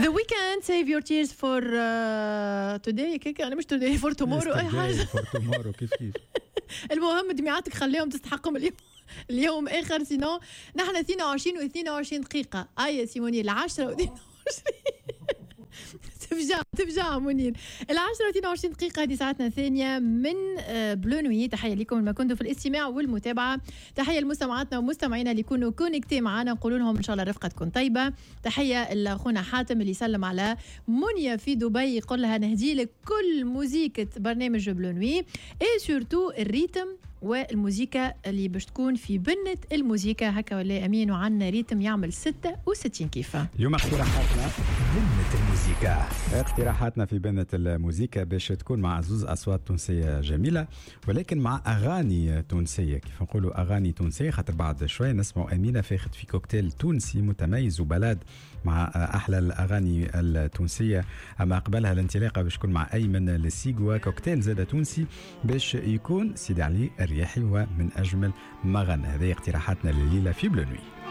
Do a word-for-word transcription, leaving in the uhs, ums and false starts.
The Weeknd، save your tears for uh, today، كيك انا مش today، for tomorrow، اي حاجه. for tomorrow، كيف كيف. المهم دميعاتك خليهم تستحقهم اليوم، اليوم اخر. sinon نحن اثنين وعشرين و اثنين وعشرين دقيقه. اي سي منير، العشرة و اثنين وعشرين، تفجع تفجع منير. العشرة و اثنين وعشرين دقيقة، هذه ساعتنا الثانية من آه، Bleu Nuit. تحية لكم ما كنتوا في الاستماع والمتابعة. تحية لمستمعاتنا ومستمعينا اللي يكونوا connectés معنا، نقول لهم إن شاء الله الرفقة تكون طيبة. تحية لأخونا حاتم اللي سلم على منيا في دبي، يقول لها نهدي لك كل موزيكة برنامج Bleu Nuit et surtout ال rythme والموزيكا اللي باش تكون في بنة الموزيكا، هكا ولا امين؟ وعندنا rythme يعمل ستة وستين كيفه. اليوم اقتراحاتنا بنة الموزيكا. اقتراحاتنا في بنة الموزيكا باش تكون مع زوز اصوات تونسية جميله، ولكن مع اغاني تونسيه. كيف نقولوا اغاني تونسيه؟ خاطر بعد شوي نسمعوا امينه فاخت في كوكتيل تونسي متميز و balade مع احلى الاغاني التونسيه. اما قبلها الانطلاقة باش تكون مع ايمن لسيغوا، كوكتيل زاد تونسي باش يكون سيدي علي الرياحي ومن اجمل ما غنى. هذه اقتراحاتنا لليلة في Bleu Nuit.